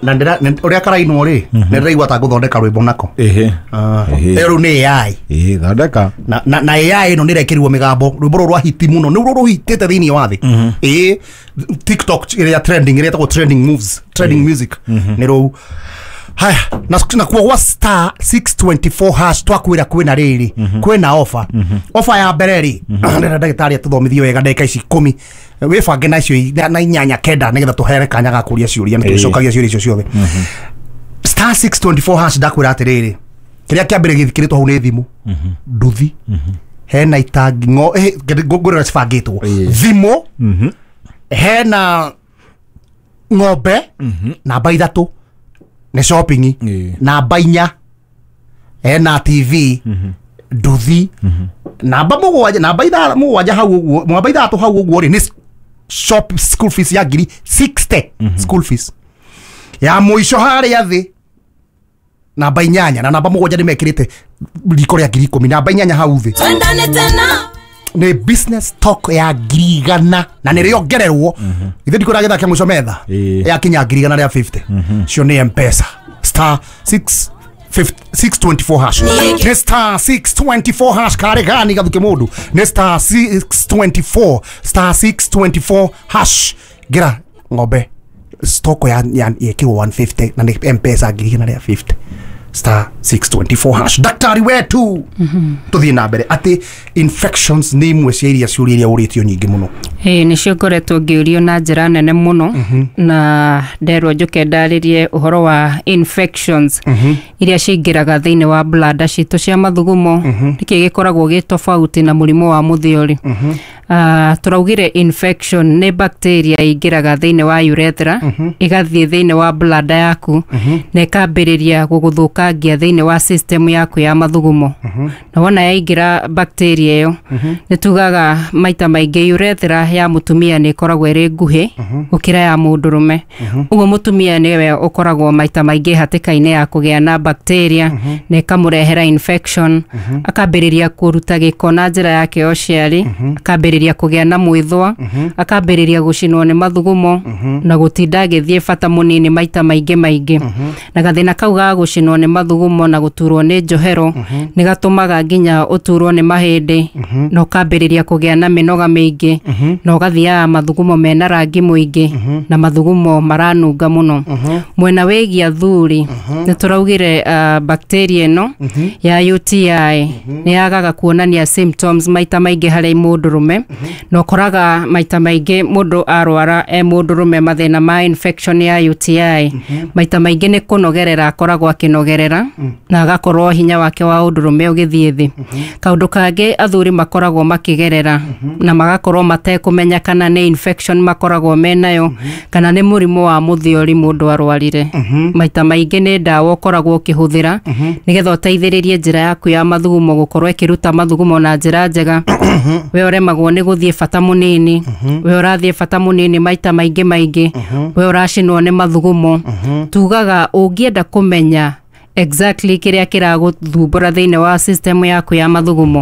Na ũrĩa karainwo rĩ, nĩ ndĩraigua ta ngũthondeka rwĩmbo nako. Ehe. Ehe. Ĩyo rĩu nĩ AI. Ĩĩ, thondeka. Na AI ĩno nĩ ĩrekĩrirwo mĩgambo, rwĩmbo rũrũ rwa hiti mũno, nĩ rũrũ rũhitĩte thĩinĩ wa thĩ. Ĩĩ, TikTok ĩrĩa trending, ĩrĩa ĩtagwo trending moves, trending music, nĩ rũu. Haya, na kuo gwa star 624 hash twakwĩra kwĩna rĩrĩ, kwĩna offer. Offer ya mbere rĩ, ndĩrenda ndagĩtarĩ atũthomithie wega ndagĩka ici 10, wĩbange na icio na 8 9 nĩgetha tũheane kanya ga kũria ciũria, nĩ tũcokagia ciũria icio ciothe. Star 624 hash, ndakwĩra atĩrĩrĩ, kĩrĩa kĩa mbere gĩthikĩrĩtwo hau nĩ thimũ, nduthi, hena itangi ngo ngũrĩra cibangĩtwo, thimũ, hena ng'ombe, namba 3 nĩ shopping, namba 4 hena TV, nduthi, namba 7, namba 7 hau ũguo, namba 6 hau ũguo rĩ, nĩ shop school fees ya ngiri 60, school fees ya mũico harĩa thĩ namba 8 na namba 7 nĩ mekĩrĩte riko rĩa ngiri 10, namba 8 hau thĩ Twendane tena. Nĩ business talk ya ngiri 100 na nĩ rĩongererwo ithe ndikũra gĩthaka mũico metha yakinya ngiri 150, cio nĩ M-Pesa, star 6 624 hash, nĩ star 624 hash, karĩ gani gathuke mũndũ, nĩ star 624, star 624 hash, ngira ng'ombe stoko ya yekirwo 150 na nĩ M-Pesa ngiri 150, star 624 hash. Daktari wetu, tuthiĩ na mbere atĩ infections nĩ imwe cia iria ciũria iria ũrĩtio nyingĩ mũno. Ĩĩ, nĩcio ngoretwo ngĩũrio na njĩra nene mũno, na nderwo njũke ndarĩrie ũhoro wa infections iria cingĩraga thĩinĩ wa bladder citũ cia mathugumo, nĩkĩ gĩkoragwo gĩ tofauti na mũrimũ wa mũthiori. Tũraugire infection nĩ bacteria ĩingĩraga thĩinĩ wa urethra, ĩgathiĩ thĩinĩ wa bladder yaku na ĩkambĩrĩria gũgũthũkangia thĩinĩ wa system yaku ya mathugumo. Na wona yaingĩra bacteria ĩyo, nĩ tugaga maita maingĩ urethra ya mũtumia nĩ ĩkoragwo ĩrĩ nguhĩ gũkĩra ya mũndũrũme. Ũguo mũtumia nĩwe ũkoragwo maita maingĩ hatĩka-inĩ ya kũgĩa na bacteria na ĩkamũrehera infection, akambĩrĩria kũruta gĩko na njĩra yake ya ũciari, akambĩrĩria kũgĩa na mwĩthwa, akambĩrĩria gũcinwo nĩ mathugumo na gũtinda agĩthiĩ bata mũnini maita maingĩ maingĩ. Na gathĩna kau ga gũcinwo nĩ mathugumo na gũturwo nĩ njohero nĩ gatũmaga nginya ũturwo nĩ mahĩndĩ na ũkambĩrĩria kũgĩa na mĩnoga mĩingĩ na ũgathiaga mathugumo mena rangi mũingĩ na mathugumo maranunga mũno. Mwena wĩgiĩ athuri, nĩ tũraugire bacteria ĩno ya UTI nĩ yagaga kuonania symptoms maita maingĩ harĩ mũndũrũme, na ũkoraga maita maingĩ mũndũ arwara e mũndũrũme mathĩna ma infection ya UTI, maita maingĩ nĩ kũnogerera akoragwo akĩnogerera na agakorwo hinya wake wa ũndũrũme ũgĩthiĩ thĩ. Kaũndũ kangĩ athuri makoragwo makĩgerera na magakorwo matekũmenya kana nĩ infection makoragwo menayo kana nĩ mũrimũ wa mũthiori mũndũ arwarire, maita maingĩ nĩ ndawa ũkoragwo ũkĩhũthĩra nĩgetha ũteithĩrĩrie njĩra yaku ya mathugumo gũkorwo ĩkĩruta mathugumo na njĩra njega. We ũremagwo nĩ gũthiĩ bata mũnini, we ũrathiĩ bata mũnini maita maingĩ maingĩ, we ũracinwo nĩ mathugumo, tugaga ũngĩenda kũmenya exactly kĩrĩa kĩragũthumbũra thĩinĩ wa system yaku ya mathugumo,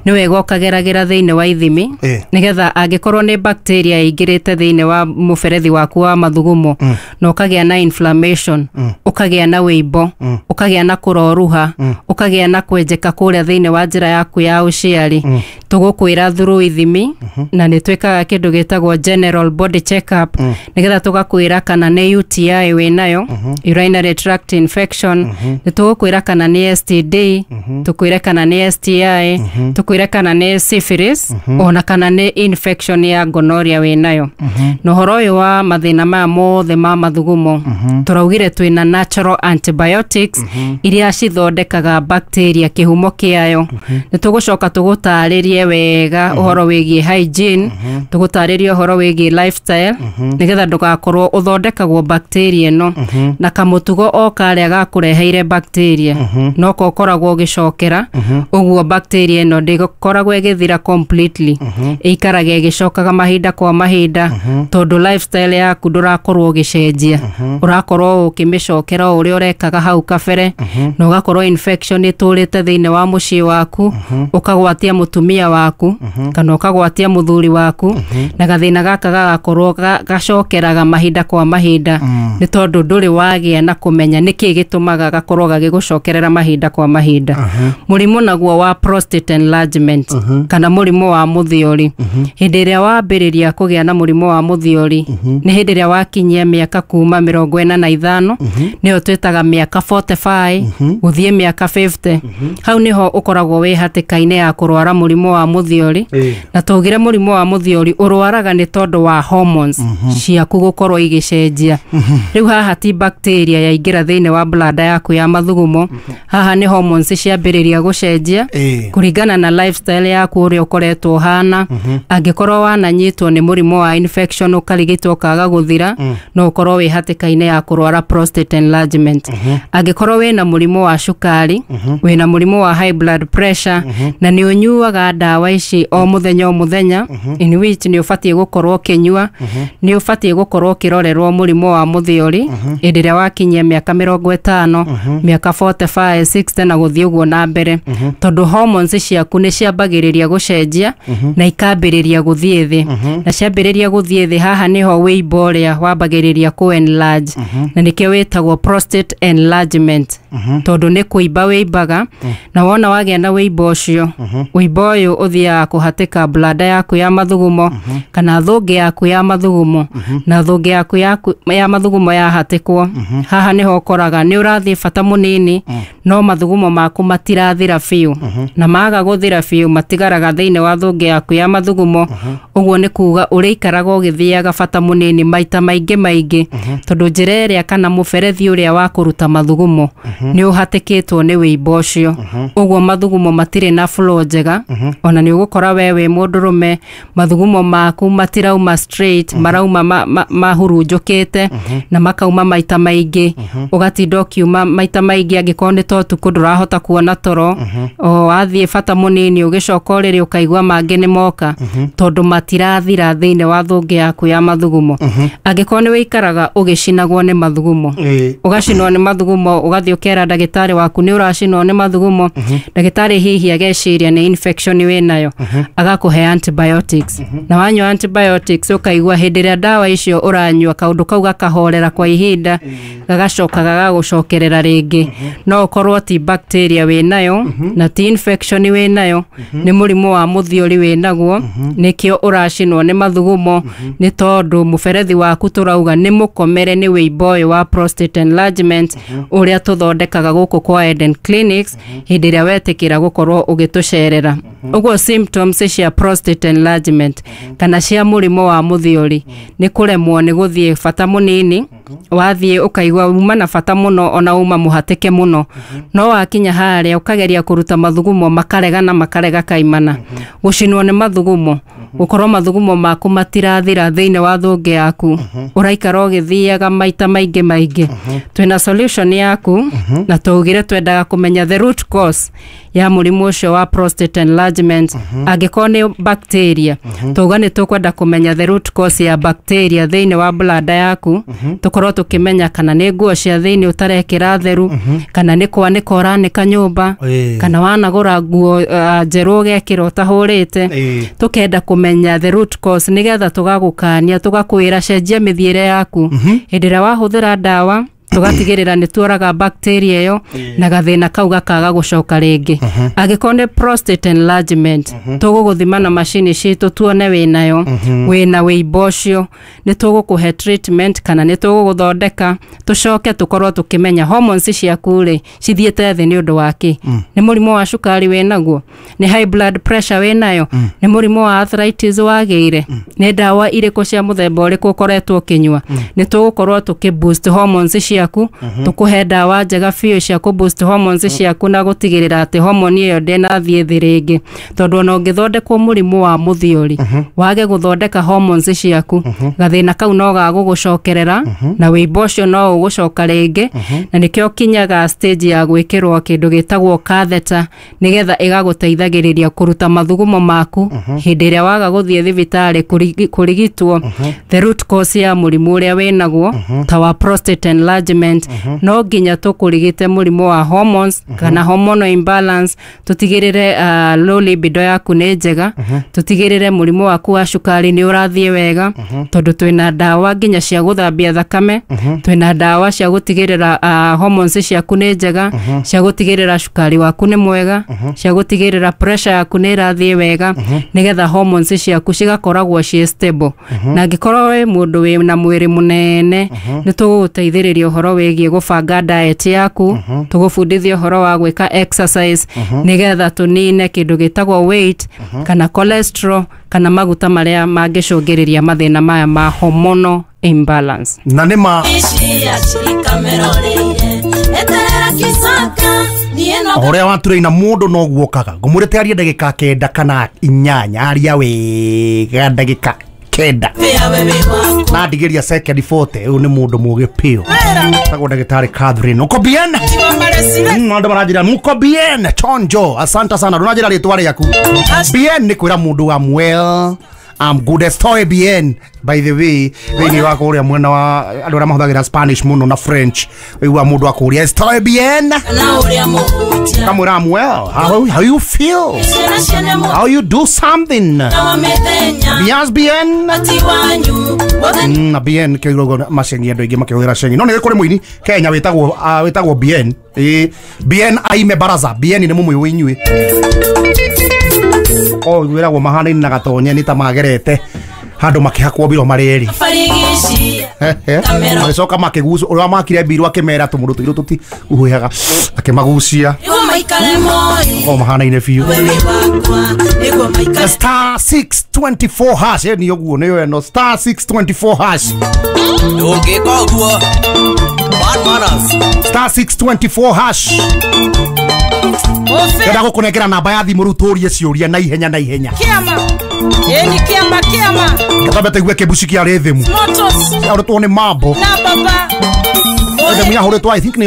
nĩ wega ũkageragĩra thĩinĩ wa ithimi nĩgetha angĩkorwo nĩ bacteria ĩingĩrĩte thĩinĩ wa mũberethi waku wa mathugumo na ũkagĩa na inflammation, ũkagĩa na wĩimbo, ũkagĩa na kũroruha, ũkagĩa na kwenjeka kũrĩa thĩinĩ wa njĩra yaku ya ũciari, tũgũkwĩra through ithimi, na nĩ twĩkaga kĩndũ gĩtagwo general body check up nĩgetha tũgakwĩra kana nĩ UTI wĩnayo, urinary tract infection, nĩ tũgũkwĩra kana nĩ STD, tũkwĩre kana nĩ STI, tũkwĩre kana nĩ syphilis, ona kana nĩ infection ya gonorrhea wĩnayo. Na ũhoro ũyũ wa mathĩna maya mothe ma mathugumo, tũraugire twĩna natural antibiotics iria cithondekaga bacteria kĩhumo kĩayo. Nĩ tũgũcoka tũgũtarĩrie wega ũhoro wĩgiĩ hygiene, tũgũtarĩrie ũhoro wĩgiĩ lifestyle nĩgetha ndũgakorwo ũthondekagwo bacteria ĩno na kamũtugo o karĩa gakũreheire bacteria no ko ũkoragwo ũgĩcokera ũguo bacteria ĩno ndĩkoragwo ĩgĩthira completely, ĩikaraga ĩgĩcokaga mahinda kwa mahinda tondũ lifestyle yaku ndũrakorwo ũgĩcenjia, ũrakorwo ũkĩmĩcokera o ũrĩa ũrekaga hau kabere, na ũgakorwo infection ĩtũrĩte thĩinĩ wa mũciĩ waku, ũkagwatia mũtumia waku kana ũkagwatia mũthuri waku, na gathĩna gaka gagakorwo gacokeraga mahinda kwa mahinda nĩ tondũ ndũrĩ wagĩa na kũmenya nĩkĩ gĩtũmaga gakorwo gagĩgũcokerera mahinda kwa mahinda. Mũrimũ naguo wa prostate enlargement kana mũrimũ wa mũthiori, hĩndĩ ĩrĩa wambĩrĩria kũgĩa na mũrimũ wa mũthiori nĩ hĩndĩ ĩrĩa wakinyia mĩaka kuma 45, nĩyo twĩtaga mĩaka 45 gũthiĩ mĩaka 50, hau nĩho ũkoragwo wĩ hatĩka-inĩ ya kũrwara mũrimũ wa mũthiori. Na twaugire mũrimũ wa mũthiori ũrwaraga nĩ tondũ wa hormones ciaku gũkorwo igĩcenjia. Rĩu haha ti bacteria yaingĩra thĩinĩ wa bladder yaku ya mathugumo, haha nĩ hormones ciambĩrĩria gũcenjia kũringana na lifestyle yaku ũrĩa ũkoretwo ũhana. Angĩkorwo wananyitwo nĩ mũrimũ wa infection ũkarigitwo ũkaga gũthira, no ũkorwo wĩ hatĩka-inĩ ya kũrwara prostate enlargement. Angĩkorwo wĩna mũrimũ wa cukari, wĩna mũrimũ wa high blood pressure, na nĩ ũnyuaga ndawa ici o mũthenya o mũthenya, in which nĩ ũbatiĩ gũkorwo ũkĩnyua, nĩ ũbatiĩ gũkorwo ũkĩrorerwo mũrimũ wa mũthiori hĩndĩ ĩrĩa wakinyia mĩaka 50, mĩaka 45, 60 na gũthiĩ ũguo na mbere, tondũ hormones ciaku nĩ ciambagĩrĩria gũcenjia na ikambĩrĩria gũthiĩ thĩ, na ciambĩrĩria gũthiĩ thĩ haha nĩho wĩimbo ũrĩa wambagĩrĩria kũ enlarge, na nĩkĩo wĩtagwo prostate enlargement, tondũ nĩ kũimba wĩimbaga, na wona wagĩa na wĩimbo ũcio, wĩimbo ũyũ ũthiaga kũhatĩka bladder yaku ya mathugumo kana thũngĩ yaku ya mathugumo, na thũngĩ yaku ya mathugumo yahatĩkwo, haha nĩho ũkoraga nĩ ũrathiĩ bata mũnini no mathugumo maku matirathira biũ, na maga gũthira biũ matigaraga thĩinĩ wa thũngĩ yaku ya mathugumo. Ũguo nĩ kuga ũrĩikaraga ũgĩthiaga bata mũnini maita maingĩ maingĩ, tondũ njĩra ĩrĩa kana mũberethi ũrĩa wa kũruta mathugumo nĩ ũhatĩkĩtwo nĩ wĩimbo ũcio, ũguo mathugumo matirĩ na flow njega. Ona nĩ ũgũkora we wĩ mũndũrũme mathugumo maku matirauma straight, marauma mahurunjũkĩte na makauma maita maingĩ, ũgatinda ũkiuma maita maingĩ. Angĩkorwo nĩ ta ũtukũ ndũrahota kuona toro, o wathiĩ bata mũnini ũgĩcoka ũrĩrĩ ũkaigua mangĩ nĩ moka, tondũ matirathira thĩinĩ wa thũngĩ yaku ya mathugumo. Angĩkorwo nĩ wĩikaraga ũgĩcinagwo nĩ mathugumo, ũgacinwo nĩ mathugumo, ũgathiĩ ũkera ndagĩtarĩ waku nĩ ũracinwo nĩ mathugumo, ndagĩtarĩ hihi ageciria nĩ infection wĩnayo, agakũhe antibiotics, na wanyua antibiotics ũkaigua hĩndĩ ĩrĩa ndawa icio ũranyua kaũndũ kau gakahorera kwa ihinda, gagacoka gagagũcokerera rĩngĩ. No ũkorwo ti bacteria wĩnayo na ti infection wĩnayo, nĩ mũrimũ wa mũthiori wĩnaguo, nĩkĩo ũracinwo nĩ mathugumo, nĩ tondũ mũberethi waku tũrauga nĩ mũkomere nĩ wĩimbo ũyũ wa prostate enlargement ũrĩa tũthondekaga gũkũ kwa Eden Clinics hĩndĩ ĩrĩa wetĩkĩra gũkorwo ũgĩtũcerera. Ũguo symptoms cia prostate enlargement kana cia mũrimũ wa mũthiori nĩ kũremwo nĩ gũthiĩ bata mũnini, wathiĩ ũkaigua uma na bata mũno ona uma mũhatĩke mũno, no wakinya harĩa ũkageria kũruta mathugumo makarega na makarega kaimana, gũcinwo nĩ mathugumo, gũkorwo mathugumo maku matirathira thĩinĩ wa thũngĩ yaku, ũraikara ũgĩthiaga maita maingĩ maingĩ. Twĩna solution yaku, na twaugire twendaga kũmenya the root cause ya mũrimũ ũcio wa prostate enlargement. Angĩkorwo nĩ bacteria, twauga nĩ tũkwenda kũmenya the root cause ya bacteria thĩinĩ wa bladder yaku, tũkorwo tũkĩmenya kana nĩ nguo cia thĩinĩ ũtarekĩra theru, kana nĩ kwanĩka ũranĩka nyũmba, kana wanagũra nguo njerũ ũgekĩra ũtahũrĩte. Tũkenda kũmenya the root cause nĩgetha tũgagũkania, tũgakwĩra cenjia mĩthiĩre yaku. Hĩndĩ ĩrĩa wahũthĩra ndawa tũgatigĩrĩra nĩ tuoraga bacteria ĩyo na gathĩna kau gakaga gũcoka rĩngĩ. Angĩkorwo nĩ prostate enlargement, tũgũgũthima na macini citũ tuone wĩnayo, wĩna wĩimbo ũcio, nĩ tũgũkũhe treatment kana nĩ tũgũgũthondeka, tũcoke tũkorwo tũkĩmenya hormones ciaku rĩ cithiĩte thĩ nĩ ũndũ wa kĩ. Nĩ mũrimũ wa cukari wĩnaguo, nĩ high blood pressure wĩnayo, nĩ mũrimũ wa arthritis wagĩire, nĩ ndawa irĩkũ cia mũthemba ũrĩkũ ũkoretwo ũkĩnyua. Nĩ tũgũkorwo tũkĩ boost hormones ciaku. ciaku, tũkũhe ndawa njega biũ cia kũ boost hormones ciaku na gũtigĩrĩra atĩ hormone ĩyo ndĩnathiĩ thĩ rĩngĩ, tondũ ona ũngĩthondekwo mũrimũ wa mũthiori wage gũthondeka hormones ciaku, gathĩna kau no gagũgũcokerera na wĩimbo ũcio no ũgũcoka rĩngĩ. Na nĩkĩo kinyaga stage ya gwĩkĩrwo kĩndũ gĩtagwo catheter, nĩgetha ĩgagũteithagĩrĩria kũruta mathugumo maku hĩndĩ ĩrĩa waga gũthiĩ thibitarĩ kũrigitwo the root cause ya mũrimũ ũrĩa wĩnaguo ta wa prostate enlargement. No nginya tũkũrigite mũrimũ wa hormones kana hormonal imbalance, tũtigĩrĩre low libido yaku nĩ njega, tũtigĩrĩre mũrimũ waku wa cukari nĩ ũrathiĩ wega, tondũ twĩna ndawa nginya cia gũthambia thakame, twĩna ndawa cia gũtigĩrĩra hormones ciaku nĩ njega, cia gũtigĩrĩra cukari waku nĩ mwega, cia gũtigĩrĩra pressure yaku nĩ ĩrathiĩ wega, nĩgetha hormones ciaku cigakoragwo ciĩ stable. Na angĩkorwo wĩ mũndũ wĩ na mwĩrĩ mũnene, nĩ tũgũgũteithĩrĩria ũhoro wĩgiĩ gũbanga diet yaku, tũgũbundithia ũhoro wa gwĩka exercise nĩgetha tũnine kĩndũ gĩtagwo weight kana cholesterol kana maguta marĩa mangĩcũngĩrĩria mathĩna maya ma hormonal imbalance. Na nĩ ma ũrĩa watureina mũndũ no guokaga ngũmũrĩte arie ndagĩka 9 kana 8, aria wega ndagĩka 9 na ndigĩria second 40. Ũyũ nĩ mũndũ mũgĩ piũ, tagwo ndagĩtarĩ Catherine. Uko bien? Andũ maranjĩra muko bien chonjo, asante sana. Ndũnanjĩra rĩtwa rĩaku. Bien nĩ kwĩra mũndũ am well, I'm good, estoy bien. By the way, thĩinĩ wa kũrĩa mwena wa andũ arĩa mahũthagĩra Spanish mũno na French, ũigua mũndũ akũria estoy bien, kamwĩra I'm well, how you feel, how you do something, yes bien. Na bien kĩo macengi andũ aingĩ makĩhũthĩra cengi. No nĩ kũrĩ mũini Kenya wĩtagwo bien. Bien aime baraza. Bien nĩ mũmũĩ inyuĩ o wĩragwo mahanaine na gatonye nĩ ta magerete handũ makĩhakwo mbiro marĩ erĩ, magĩcoka makĩgucio ũrĩa makire mbiro akĩmera tũmũndũ tũirũ tũtihuhaga akĩmagucia o mahanaine biũ. Star 624 hash nĩ ũguo nĩyo ĩno star 624 hash. Ndũngĩka ũguo. Bad manners. Star 624 hash. Ndĩrenda gũkũnengera namba ya thimũ rĩu tũrie ciũria na ihenya na ihenya. Kĩama. Ĩni kĩama kĩama. Gĩtambe tũigue kĩmbuci kĩa rhythm. Motos. Kĩahũrĩtwo nĩ mambo. Na baba. Rhythm yahũrĩtwo I think nĩ